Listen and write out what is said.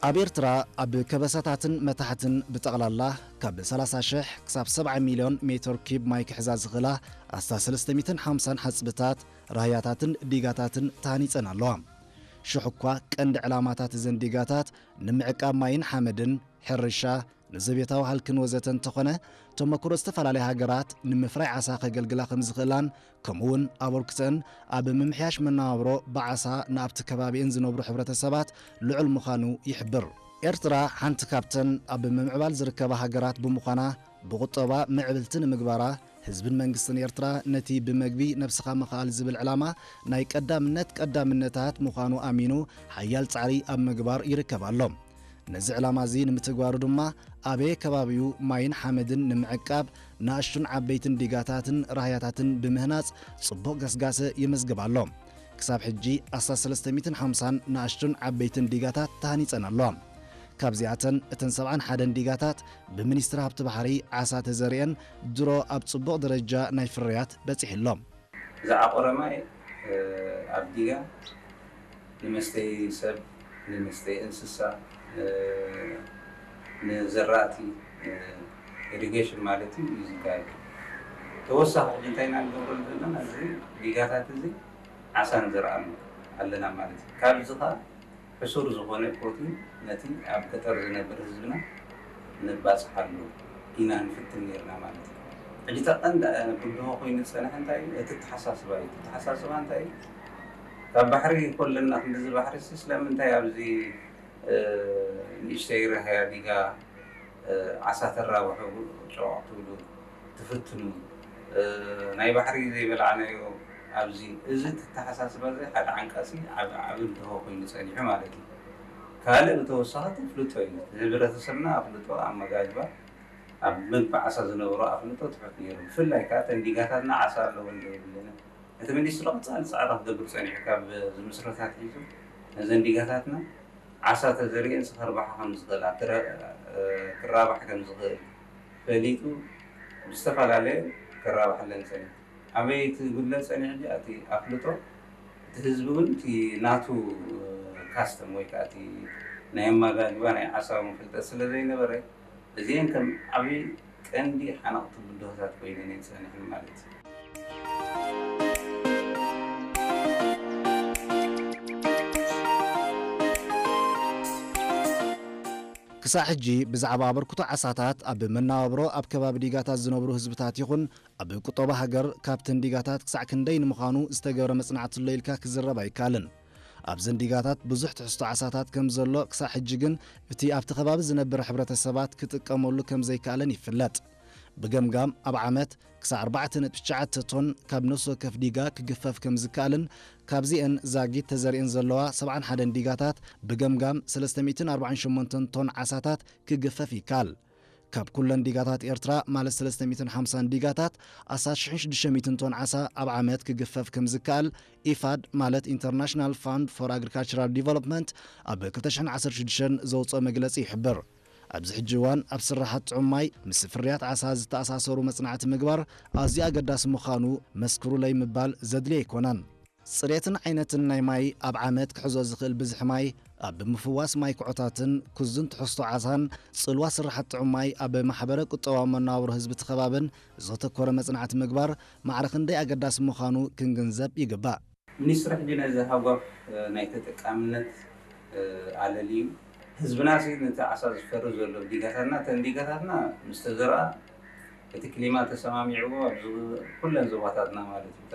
ኣብ ኤርትራ ኣብ ከበሳታትን መታሕትን ብጠቕላላ ካብ ሰላሳ ሽሕ ክሳብ ሰብዓ ሚልዮን ሜትር ኪብ ማይ ክሕዛ ዝኽእላ ኣስታት ሰለስተ ሚእትን ሓምሳን ሓጽብታት፣ ራህያታትን ዲጋታትን ተሃኒጸን ኣለዋ። ሽሕ እኳ ቀንዲ ዕላማታት እዘን ዲጋታት ንምዕቃብ ማይን ሓመድን፣ ሕርሻ፣ ንዘቤታዊ ሃልክን ወዘተ እንተኾነ፣ ተመክሮ ዝተፈላለያ ሃገራት ንምፍራይ ዓሳ ከገልግላ ከም ዝኽእላን ከምኡውን ኣበርክተን ኣብ ምምሕያሽ መነባብሮ ብዓሳ ንኣብቲ ከባቢእን ዝነብሩ ሕብረተሰባት ልዑል ምዃኑ ይሕብር። ኤርትራ ሓንቲ ካብተን ኣብ ምምዕባል ዝርከባ ሃገራት ብምዃና፣ ብቁጠባ ምዕብልቲ ንምግባራ፣ ህዝብን መንግስትን ኤርትራ ነቲ ብመግቢ ነብስኻ ምኽኣል ዝብል ዕላማ ናይ ቀዳምነት ቀዳምነታት ምዃኑ ኣሚኑ ሓያል ጻዕሪ ኣብ ምግባር ይርከብ ኣሎ። ነዚ ዕላማ እዚ ንምትግባሩ ድማ ኣበየ ከባቢኡ ማይን ሓመድን ንምዕቃብ ንኣሽቱን ዓበይትን ዲጋታትን ራህያታትን ብምህናጽ ጽቡቕ ገስጋሰ ይምዝግብ ኣሎ። ክሳብ ሕጂ ኣስታት ሰለስተ ሚእትን ሓምሳን ንኣሽቱን ዓበይትን ዲጋታት ተሃኒጸን ኣለዋ። ካብዚኣተን እተን ሰብዓን ሓደን ዲጋታት ብሚኒስትሪ ሃብቲ ባሕሪ ዓሳ ተዘሪአን ድሮ ኣብ ጽቡቕ ደረጃ ናይ ፍርያት በጺሑ ኣሎ። ዝዓቆረ ማይ ኣብ ዲጋ ንመስተይ ሰብ፣ ንመስተይ እንስሳ፣ ንዘራእቲ፣ ኢሪጌሽን ማለት እዩ እዩ ዝካየድ። ተወሳኺ ሕጂ እንታይ ኢና ንገብረሉ ዘለና? እዚ ዲጋታት እዚ ዓሳ ንዘርኣሉ ኣለና ማለት እዩ። ካብዚ ኸዓ ሕሱር ዝኾነ ፕሮቲን ነቲ ኣብ ገጠር ዝነብር ህዝብና ነባፅሓሉ ኢና ንፍትን ነርና ማለት እዩ። ሕጂ እታ ቀንዲ ብድሆ ኮይኑ ዝፀንሐ እንታይ እዩ? እቲ ኣተሓሳስባ እዩ። እቲ ኣተሓሳስባ እንታይ እዩ? ካብ ባሕሪ ኮለና ክንድዚ ባሕሪ ሲ ስለምንታይ ኣብዚ ንእሽተይ ራህያ ዲጋ ዓሳ ተራብሑ፣ ጨዋቕ ትብሉ፣ ትፍትኑ፣ ናይ ባሕሪ ዘይበላዕናዮ ኣብዚ፣ እዚ ኣተሓሳስባ እዚ ሓደ ዓንቃሲ ዓብ-፣ ዓቢ ብድሆ ኮይኑ ጸኒሑ ማለት እዩ። ካልእ ብተወሳኺ እቲ ኣፍልጦ እዩ። ህብረተሰብና ኣፍልጦ ኣመጋግባ፣ ኣብ ምግቢ ዓሳ ዝነበሮ ኣፍልጦ ትሑት ነይሩ። ብፍላይ ከኣ እተን ዲጋታትና ዓሳ ኣለወን ዶ የብለንን? እቲ ሚኒስትሪ ቀጻሊ ጻዕሪ ክገብር ጸኒሑ፣ ካብ ዝምስረት ኣትሒዙ ነዘን ዲጋታትና ዓሳ ተዘሪኤን ክርባሓ ከም ዝኽእላ፣ ክረ-፣ ክራባሕ ከም ዝኽእል ፈሊጡ ብዝተፈላለየ ክራባሓለን ጸኒሑ። ኣበይ እቲ ጉድለት ጸኒሑ? እቲ ኣፍልጦ፣ እቲ ህዝቢ እውን እቲ ናቱ ካስተም ወይ ከዓ እቲ ናይ ኣመጋግባ ናይ ዓሳ እውን ፍልጠት ስለ ዘይነበረ፣ እዚኤን ከም ዓብዪ ቀንዲ ሓነቕቲ ብድሆታት ኮይነን እየን ጸኒሐን ማለት እዩ። ክሳዕ ሕጂ ብዛዕባ ኣበርክቶ ዓሳታት ኣብ መነባብሮ ኣብ ከባቢ ዲጋታት ዝነብሩ ህዝብታት ይኹን ኣብ ቁጠባ ሃገር ካብተን ዲጋታት ክሳዕ ክንደይ ንምዃኑ ዝተገብረ መጽናዕቲ ኣሎ ኢልካ ክዝረብ ኣይከኣልን። ኣብዘን ዲጋታት ብዙሕ ትሕዝቶ ዓሳታት ከም ዘሎ ክሳዕ ሕጂ ግን እቲ ኣብቲ ከባቢ ዝነብር ሕብረተሰባት ክጥቀመሉ ከም ዘይከኣለን ይፍለጥ። ብገምጋም ኣብ ዓመት ክሳዕ ኣርባዕተ ነጥቢ ትሽዓተ ቶን ካብ ነፍሲ ወከፍ ዲጋ ክግፈፍ ከም ዝከኣልን ካብዚአን ዛጊት ተዘሪአን ዘለዋ ሰብዓን ሓደን ዲጋታት ብገምጋም ሰለስተ ሚእትን ኣርባዓን ሸሞንተን ቶን ዓሳታት ክግፈፍ ይከኣል። ካብ ኩለን ዲጋታት ኤርትራ ማለት ሰለስተ ሚእትን ሓምሳን ዲጋታት ኣስታት ሽሕን ሽዱሽተ ሚእትን ቶን ዓሳ ኣብ ዓመት ክግፈፍ ከም ዝከኣል ኢፋድ ማለት ኢንተርናሽናል ፋንድ ፎር ኣግሪካልቸራል ዲቨሎፕመንት ኣብ ክልተ ሽሕን ዓሰርተ ሽዱሽተን ዘውፅኦ መግለፂ ይሕብር። ኣብዚ ሕጂ እዋን ኣብ ስራሓት ጥዑም ማይ ምስ ፍርያት ዓሳ ዝተኣሳሰሩ መጽናዕቲ ምግባር ኣዝዩ ኣገዳሲ ምዃኑ መስክሩለይ ምባል ዘድልዮ ኣይኮነን። ጽሬትን ዓይነትን ናይ ማይ ኣብ ዓመት ክሕዞ ዝኽእል ብዝሒ ማይ ኣብ ምፍዋስ ማይ ኩዖታትን ክዙን ትሕዝቶ ዓሳን ጽልዋ ስራሓት ጥዑም ማይ ኣብ ማሕበረ ቁጠባዊ መነባብሮ ህዝቢ እቲ ከባብን ዘተኮረ መጽናዕቲ ምግባር ማዕረ ክንደይ ኣገዳሲ ምዃኑ ክንግንዘብ ይግባእ። ሚኒስትሪ ሕጂ ነዚ ሃጓፍ ናይ ተጠቃምነት ኣለልዩ። ህዝብና ሲ ነቲ ዓሳ ዝፈሪ ዘሎ ዲጋታትና፣ እተን ዲጋታትና ምስ ተዘርኣ እቲ ክሊማ ተሰማሚዕዎ ኣብዚ ኩለን ዞባታትና ማለት እዩ።